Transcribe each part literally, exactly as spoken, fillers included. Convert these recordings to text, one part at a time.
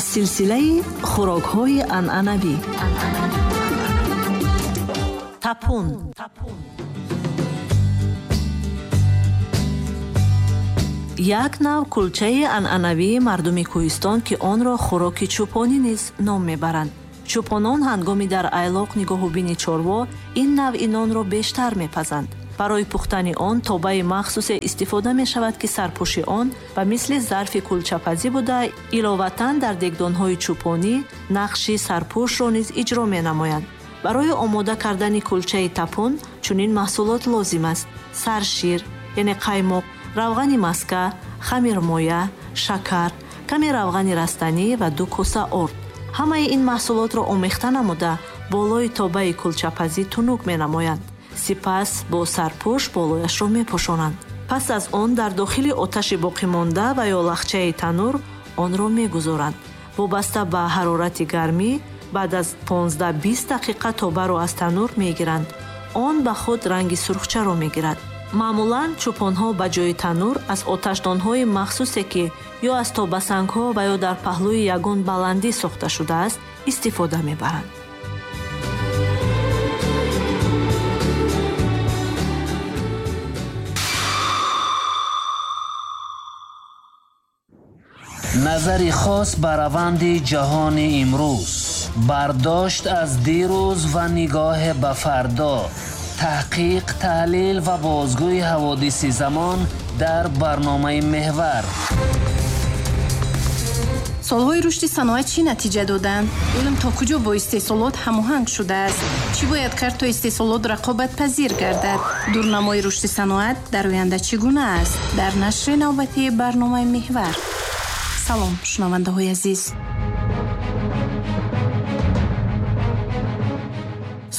Аз силсилаи хӯрокҳои анъанавӣ. Тапун. Як нав кулчаи анъанавии мардуми кӯҳистон, ки онро хӯроки чӯпонӣ низ ном мебаранд. Чӯпонон ҳангоми дар айлоқ нигоҳубини чорво ин навъи нонро бештар мепазанд. Барои пухтани он тобаи махсусе истифода мешавад, ки сарпӯши он ба мисли зарфи кулчапазӣ буда, иловатан дар дегдонҳои чӯпонӣ нақши сарпӯшро низ иҷро менамоянд. Барои омода кардани кулчаи тапун чунин маҳсулот лозим аст: саршир, яъне қаймоқ, равғани маска, хамирмоя, шакар, каме равғани растанӣ ва ду коса орд. Ҳамаи ин маҳсулотро омехта намуда болои тобаи кулчапазӣ тунук менамоянд. Сипас бо сарпӯш болояшро мепӯшонанд. Пас аз он дар дохили оташи боқимонда ва ё лахчаи танур онро мегузоранд. Вобаста ба ҳарорати гармӣ баъд аз понздаҳ-бист дақиқа тобаро аз танур мегиранд. Он ба худ ранги сурхчаро мегирад. Маъмулан чӯпонҳо ба ҷои танур аз оташдонҳои махсусе, ки ё аз тобасангҳо ва ё дар паҳлӯи ягон баландӣ сохта шудааст, истифода мебаранд. Назари хос ба раванди ҷаҳони имрӯз, бардошт аз дирӯз ва нигоҳ ба фардо, таҳқиқ, таҳлил ва бозгӯи ҳаводиси замон дар барномаи Меҳвар. Солҳои рушди саноат чӣ натиҷа доданд? Илм то куҷо бо истеҳсолот ҳамоҳанг шудааст? Чӣ бояд кард то истеҳсолот рақобатпазир гардад? Дурнамои рушди саноат дар оянда чӣ гуна аст? Дар нашри навбатии барномаи Меҳвар. Салом, шунавандаҳои азиз.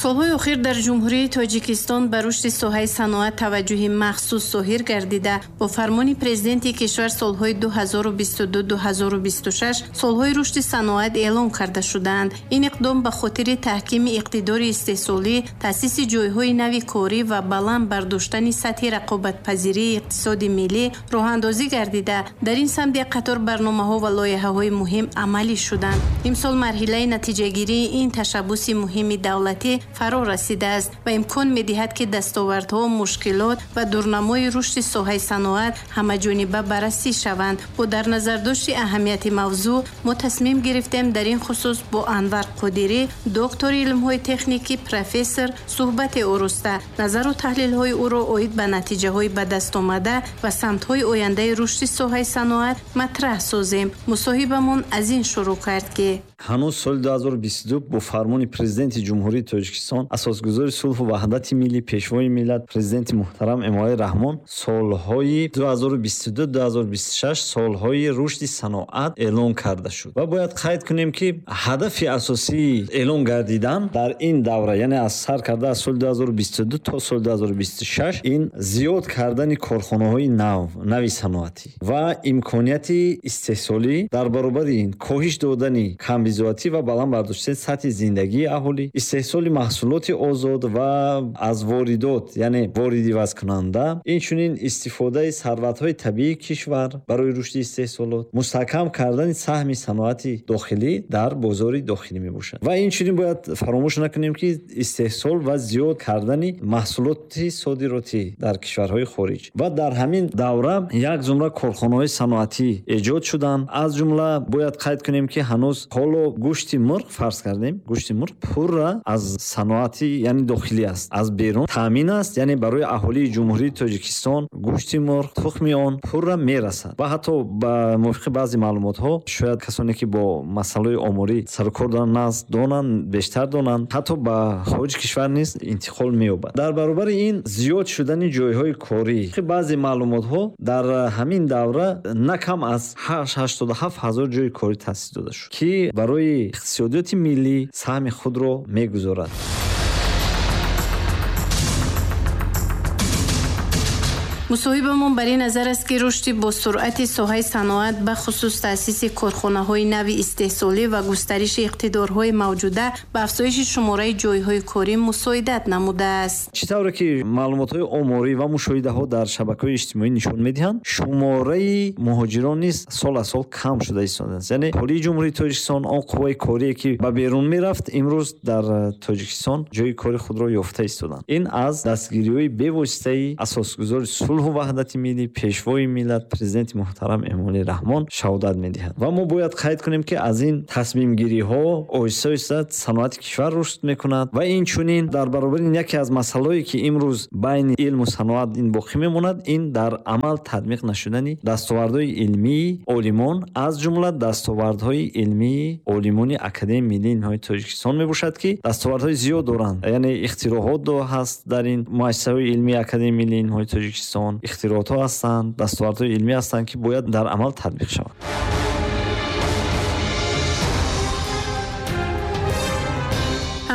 Солҳои охир дар Ҷумҳурии Тоҷикистон ба рушди соҳаи саноат таваҷҷӯҳи махсус зоҳир гардида, бо фармони президенти кишвар солҳои ду ҳазору бисту ду - ду ҳазору бисту шаш солҳои рушди саноат эълон карда шудаанд. Ин иқдом ба хотири таҳкими иқтидори истеҳсолӣ, таъсиси ҷойҳои нави корӣ ва баланд бардоштани сатҳи рақобатпазирии иқтисоди миллӣ роҳандозӣ гардида, дар ин самт як қатор барномаҳо ва лоиҳаҳои муҳим амалӣ шуданд. Имсол марҳилаи натиҷагирии ин ташаббуси муҳими давлатӣ фаро расидааст ва имкон медиҳад, ки дастовардҳо, мушкилот ва дурнамои рушди соҳаи саноат ҳамаҷониба баррасӣ шаванд. Бо дар назардошти аҳамияти мавзӯъ мо тасмим гирифтем дар ин хусус бо Анвар Қодирӣ, доктори илмҳои техникӣ, профессор, суҳбате ороста, назару таҳлилҳои ӯро оид ба натиҷаҳои ба даст омада ва самтҳои ояндаи рушди соҳаи саноат матраҳ созем. Мусоҳибамон аз ин шурӯъ кард, ки ҳанӯз соли ду ҳазору бисту ду бо фармони президенти Ҷумҳурии Тоҷикистон, асосгузори сулҳу ваҳдати миллӣ, пешвои миллат, президенти муҳтарам Эмомалӣ Раҳмон солҳои ду ҳазору бисту ду - ду ҳазору бисту шаш солҳои рушди саноат эълон карда шуд. Ва бояд қайд кунем, ки ҳадафи асосии эълон гардидан дар ин давра, яъне аз сар карда аз соли ду ҳазору бисту ду то соли ду ҳазору бисту шаш, ин зиёд кардани корхонаҳои нав, нави саноатӣ ва имконияти истеҳсолӣ, дар баробари ин коҳиш додани камбизоатӣ ва баланд бардоштани сатҳи зиндагии аҳолӣ, истеҳсоли маҳсулоти озод ва аз воридот, яъне воридивазкунанда, инчунин истифодаи сарватҳои табиии кишвар барои рушди истеҳсолот, мустаҳкам кардани саҳми саноати дохилӣ дар бозори дохилӣ мебошад. Ва инчунин бояд фаромӯш накунем, ки истеҳсол ва зиёд кардани маҳсулоти содиротӣ дар кишварҳои хориҷ. Ва дар ҳамин давра як зумра корхонаҳои саноатӣ эҷод шуданд. Аз ҷумла бояд қайд кунем, ки ҳанӯз ҳоло гӯшти мурғ, фарз кардем, гӯшти мурғ пурра аз саноати, яъне дохилӣ аст, аз берун таъмин аст, яъне барои аҳолии Ҷумҳурии Тоҷикистон гӯшти мурғ, тухми он пурра мерасад. Ва ҳатто ба мувофиқи баъзе маълумотҳо, шояд касоне ки бо масъалаи оморӣ сарукор доранд, нағз донанд, бештар донанд, ҳатто ба хориҷи кишвар низ интиқол меёбад. Дар баробари ин зиёд шудани ҷойҳои корӣ, баъзе маълумотҳо дар ҳамин давра на кам аз ҳаштоду ҳафт ҳазор ҷойи корӣ таъсис дода шуд, ки барои иқтисодиёти миллӣ саҳми худро мегузорад. Мусоҳибамон бар ин назар аст, ки рушди босуръати соҳаи саноат, ба хусус таъсиси корхонаҳои нави истеҳсолӣ ва густариши иқтидорҳои мавҷуда ба афзоиши шумораи ҷойҳои корӣ мусоидат намудааст. Чӣ тавре ки маълумотҳои оморӣ ва мушоҳидаҳо дар шабакаҳои иҷтимоӣ нишон медиҳанд, шумораи муҳоҷирон низ сол аз сол кам шуда истодааст. Яъне ҳолии Ҷумҳурии Тоҷикистон он қувваи корие ки ба берун мерафт, имрӯз дар Тоҷикистон ҷойи кори худро ёфта истоданд. Ин аз дастгириҳои бевоситаи асосгузори сулҳу ваҳдати миллӣ, пешвои миллат, президенти муҳтарам Эмомалӣ Раҳмон шаҳодат медиҳад. Ва мо бояд қайд кунем, ки аз ин тасмимгириҳо оҳиста оҳиста саноати кишвар рушд мекунад ва инчунин дар баробари ин яке аз масъалаҳое ки имрӯз байни илму саноат ин боқӣ мемонад, ин дар амал татбиқ нашудани дастовардҳои илмии олимон, аз ҷумла дастовардҳои илмии олимони Академияи миллии илмҳои Тоҷикистон мебошад, ки дастовардҳои зиёд доранд. Яъне ихтироъот ҳаст дар ин муассисаҳои илмии Академияи миллии илмҳои Тоҷикистон, ихтироъотҳо ҳастанд, дастовардҳои илмӣ ҳастанд, ки бояд дар амал татбиқ шаванд.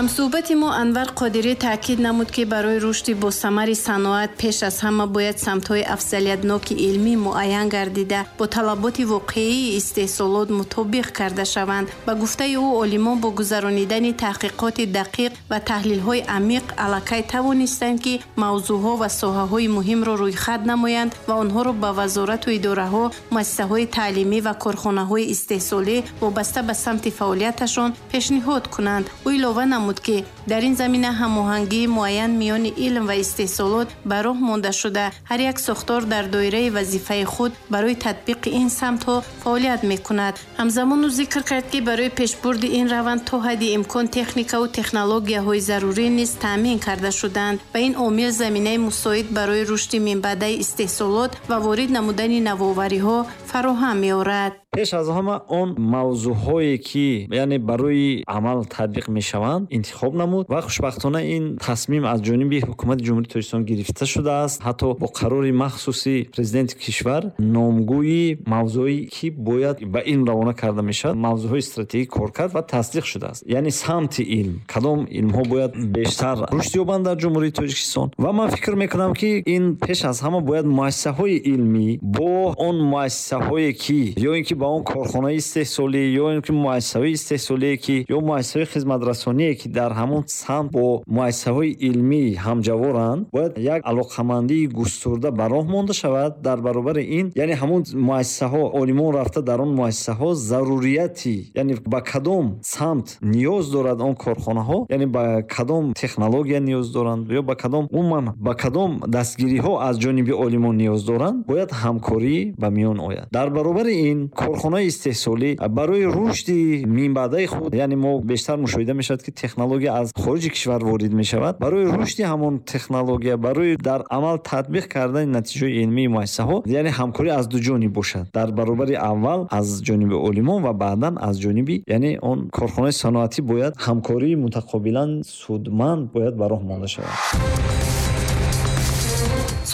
Ҳамсӯҳбати мо Анвар Қодирӣ таъкид намуд, ки барои рушди босамари саноат пеш аз ҳама бояд самтҳои афзалиятноки илмӣ муайян гардида, бо талаботи воқеии истеҳсолот мутобиқ карда шаванд. Ба гуфтаи ӯ, олимон бо гузаронидани таҳқиқоти дақиқ ва таҳлилҳои амиқ аллакай тавонистанд, ки мавзӯъҳо ва соҳаҳои муҳимро рӯйхат намоянд ва онҳоро ба вазорату идораҳо, муассисаҳои таълимӣ ва корхонаҳои истеҳсолӣ вобаста ба самти фаъолияташон пешниҳод кунанд. Ӯ илова намуд, ки дар ин замина ҳамоҳангии муайян миёни илм ва истеҳсолот ба роҳ монда шуда, ҳар як сохтор дар доираи вазифаи худ барои татбиқи ин самтҳо фаъолият мекунад. Ҳамзамон ӯ зикр кард, ки барои пешбурди ин раванд то ҳадди имкон техникаву технологияҳои зарурӣ низ таъмин карда шуданд ва ин омил заминаи мусоид барои рушди минбаъдаи истеҳсолот ва ворид намудани навовариҳо фароҳам меорад. Пеш аз ҳама он мавзӯъҳое ки яъне барои амал татбиқ мешаванд интихоб намуд ва хушбахтона ин тасмим аз ҷониби ҳукумати Ҷумҳурии Тоҷикистон гирифта шудааст. Ҳатто бо қарори махсуси президенти кишвар номгӯи мавзӯе ки бояд ба илм равона карда мешавад, мавзӯъҳои стратегӣ кор кард ва тасдиқ шудааст. Яъне самти илм, кадом илмҳо бояд бештар рушд ёбанд дар Ҷумҳурии Тоҷикистон. Ва ман фикр мекунам, ки ин пеш аз ҳама бояд муассисаҳои илмӣ бо он муассисаҳое ки ё ин ки ба он корхонаи истеҳсолӣ ё ин ки муассисаҳои истеҳсолие ки ё муассисаҳои хизматрасоние ки дар ҳамон самт бо муассисаҳои илмӣ ҳамҷаворанд, бояд як алоқамандии густурда ба роҳ монда шавад. Дар баробари ин, яъне ҳамон муассисаҳо, олимон рафта дар он муассисаҳо зарурияти, яъне ба кадом самт ниёз дорад он корхонаҳо, яъне ба кадом технология ниёз доранд ё ба кадом умуман ба кадом дастгириҳо аз ҷониби олимон ниёз доранд, бояд ҳамкорӣ ба миён ояд. Дар баробари ин корхонаи истеҳсолӣ барои рушди минбаъдаи худ, яъне мо бештар мушоҳида мешавад, ки технология аз хориҷи кишвар ворид мешавад. Барои рушди ҳамон технология, барои дар амал татбиқ кардани натиҷаҳои илмии муассисаҳо, яъне ҳамкорӣ аз ду ҷониб бошад. Дар баробари аввал аз ҷониби олимон ва баъдан аз ҷониби яъне он корхонаи саноатӣ бояд ҳамкории мутақобилан судманд бояд ба роҳ монда шавад.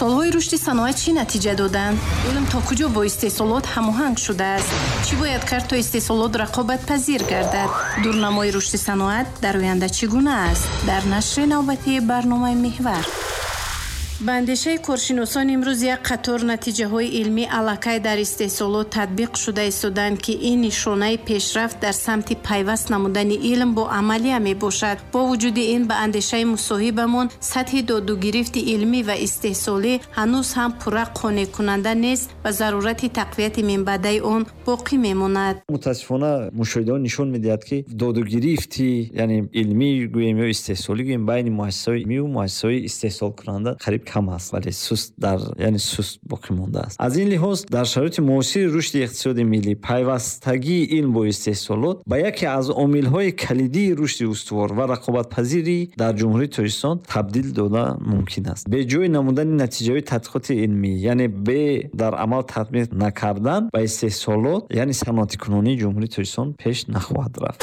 Солҳои рушди саноат чӣ натиҷа доданд? Илм то куҷо бо истеҳсолот ҳамоҳанг шудааст? Чӣ бояд кард то истеҳсолот рақобатпазир гардад? Дурнамои рушди саноат дар оянда чӣ гуна аст? Дар нашри навбатии барномаи Меҳвар. Ба андешаи коршиносон имрӯз як қатор натиҷаҳои илмӣ аллакай дар истеҳсолот татбиқ шуда истоданд, ки ин нишонаи пешрафт дар самти пайваст намудани илм бо амалия мебошад. Бо вуҷуди ин, ба андешаи мусоҳибамон, сатҳи додугирифти илмӣ ва истеҳсолӣ ҳанӯз ҳам пурра қонеъкунанда нест ва зарурати тақвияти минбаъдаи он боқӣ мемонад. Мутаассифона мушоҳидаҳо нишон медиҳад, ки додугирифти яъне илмӣ гӯем ё истеҳсолӣ гӯем байни муассисаҳои илмӣ ва муассисаҳои истеҳсолкунанда қариб кам аст, вале суст дар яъне суст боқӣ мондааст. Аз ин лиҳоз дар шароити муосири рушди иқтисоди миллӣ пайвастагии илм бо истеҳсолот ба яке аз омилҳои калидии рушди устувор ва рақобатпазирӣ дар Ҷумҳурии Тоҷикистон табдил дода мумкин аст. Беҷой намудани натиҷаҳои тадқиқоти илмӣ, яъне бе дар амал татбиқ накардан ба истеҳсолот, яъне саноатикунонии Ҷумҳурии Тоҷикистон пеш нахоҳад рафт.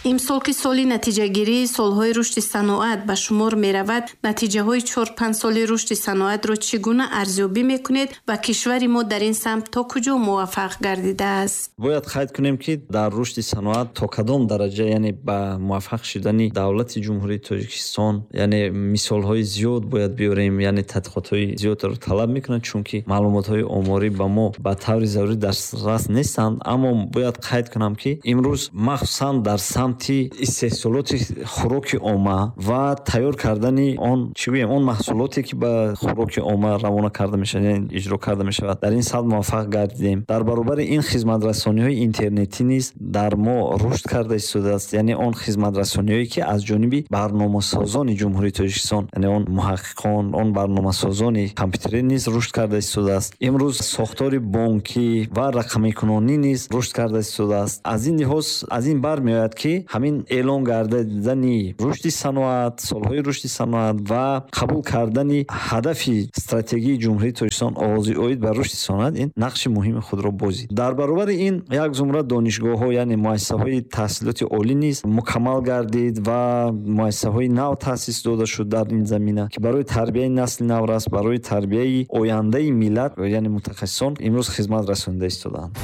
Имсол ки соли натиҷагирии солҳои рушди саноат ба шумор меравад, натиҷаҳои чор-панҷ соли рушди саноатро чӣ гуна арзёбӣ мекунед ва кишвари мо дар ин самт то куҷо муваффақ гардидааст? Бояд қайд кунем, ки дар рушди саноат то кадом дараҷа, яъне ба муваффақ шудани давлати Ҷумҳурии Тоҷикистон, яъне мисолҳои зиёд бояд биёрем, яъне тадқиқотҳои зиёдро талаб мекунанд, чунки маълумотҳои оморӣ ба мо ба таври зарурӣ дастрас нестанд. Аммо бояд қайд кунам, ки имрӯз махсусан дар самти истеҳсолоти хӯроки омма ва тайёр кардани он, чӣ гӯем, он маҳсулоте, ки ба хӯроки омма равона карда мешавад, яъне иҷро карда мешавад, дар ин самт муваффақ гардидем. Дар баробари ин хизматрасониҳои интернетӣ низ дар мо рушд карда истодааст, яъне он хизматрасониҳое, ки аз ҷониби барномасозони Ҷумҳурии Тоҷикистон, яъне он муҳаққиқон, он барномасозони компютерӣ низ рушд карда истодааст. Имрӯз сохтори бонкӣ ва рақамикунонӣ низ рушд карда истодааст. Аз ин лиҳоз аз ин бармеояд, ки ҳамин эълон гардидани рушди саноат, солҳои рушди саноат ва қабул кардани ҳадафи стратегии Ҷумҳурии Тоҷикистон оғози оид ба рушди саноат ин нақши муҳими худро бозид. Дар баробари ин як зумра донишгоҳҳо, яъне муассисаҳои таҳсилоти олӣ низ мукаммал гардид ва муассисаҳои нав таъсис дода шуд дар ин замина, ки барои тарбияи насли наврас, барои тарбияи ояндаи миллат, яъне мутахассисон имрӯз хизмат расонида истодаанд.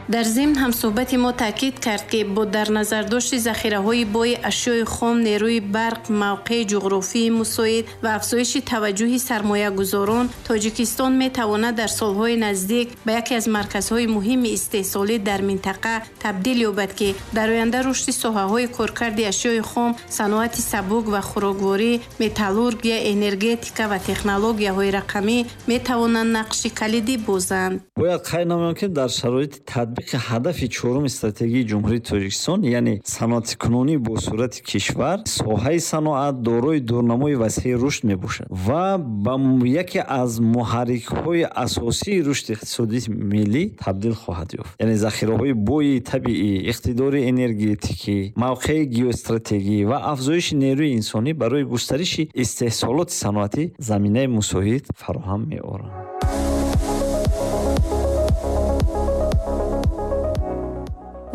Дар зимн ҳамсӯҳбати мо таъкид кард, ки бо дар назардошти захираҳои бои ашёи хом, нерӯи барқ, мавқеи ҷуғрофии мусоид ва афзоиши таваҷҷӯҳи сармоягузорон, Тоҷикистон метавонад дар солҳои наздик ба яке аз марказҳои муҳими истеҳсолӣ дар минтақа табдил ёбад, ки дар оянда рушди соҳаҳои коркарди ашёи хом, саноати сабук ва хӯрокворӣ, металлургия, энергетика ва технологияҳои рақамӣ метавонанд нақши калидӣ бозанд. Бояд қайд намоям, ки дар шароити татбиқи ҳадафи чоруми стратегии Ҷумҳурии Тоҷикистон, яъне саноатикунонӣ бо суръати кишвар, соҳаи саноат дорои дурнамои васеи рушд мебошад ва ба яке аз муҳаррикҳои асосии рушди иқтисодии миллӣ табдил хоҳад ёфт. Яъне захираҳои бои табиӣ, иқтидори энергетикӣ, мавқеи геостратегӣ ва афзоиши нерӯи инсонӣ барои густариши истеҳсолоти саноатӣ заминаи мусоид фароҳам меоранд.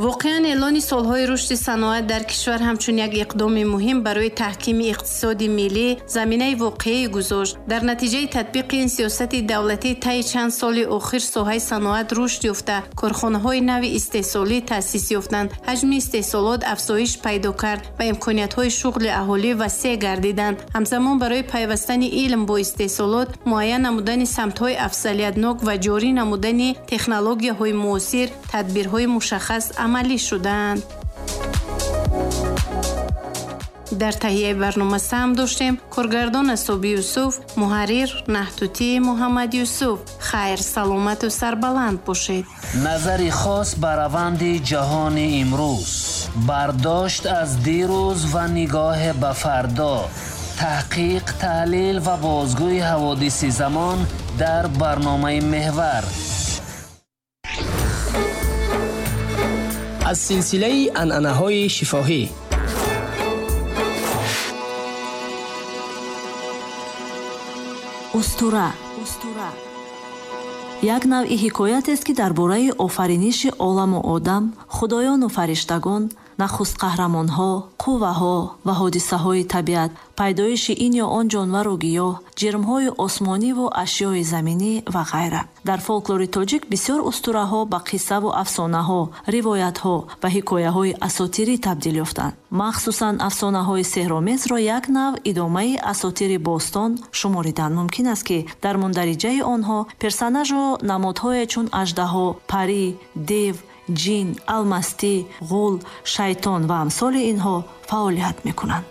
Воқеан эълони солҳои рушди саноат дар кишвар ҳамчун як иқдоми муҳим барои таҳкими иқтисоди миллӣ заминаи воқеӣ гузошт. Дар натиҷаи татбиқи ин сиёсати давлатӣ таи чанд соли охир соҳаи саноат рушд ёфта, корхонаҳои нави истеҳсолӣ таъсис ёфтанд, ҳаҷми истеҳсолот афзоиш пайдо кард ва имкониятҳои шуғли аҳолӣ васеъ гардиданд. Ҳамзамон барои пайвастани илм бо истеҳсолот, муайян намудани самтҳои афзалиятнок ва ҷорӣ намудани технологияҳои муосир тадбирҳои мушаххас амалӣ шуданд. Дар таҳияи барнома саҳм доштем коргардон Асоби Юсуф, муҳаррир Наҳтутӣ Муҳаммад Юсуф. Хайр, саломату сарбаланд бошед. Назари хос ба раванди ҷаҳони имрӯз, бардошт аз дирӯз ва нигоҳ ба фардо, таҳқиқ, таҳлил ва бозгӯи ҳаводиси замон дар барномаи Меҳвар. Аз силсилаи анъанаҳои шифоҳӣ. Устура як навъи ҳикоятест, ки дар бораи офариниши оламу одам, худоёну фариштагон, нахуст қаҳрамонҳо, қувваҳо ва ҳодисаҳои табиат, пайдоиши ин ё он ҷонвару гиёҳ, ҷирмҳои осмониву ашёи заминӣ ва ғайра. Дар фолклори тоҷик бисёр устураҳо ба қиссаву афсонаҳо, ривоятҳо ва ҳикояҳои асотирӣ табдил ёфтанд. Махсусан афсонаҳои сеҳромезро як нав идомаи асотири бостон шуморидан мумкин аст, ки дар мундариҷаи онҳо персонажу намодҳое чун аждаҳо, парӣ, дев, ҷин, алмастӣ, ғул, шайтон ва амсоли инҳо фаъолият мекунанд.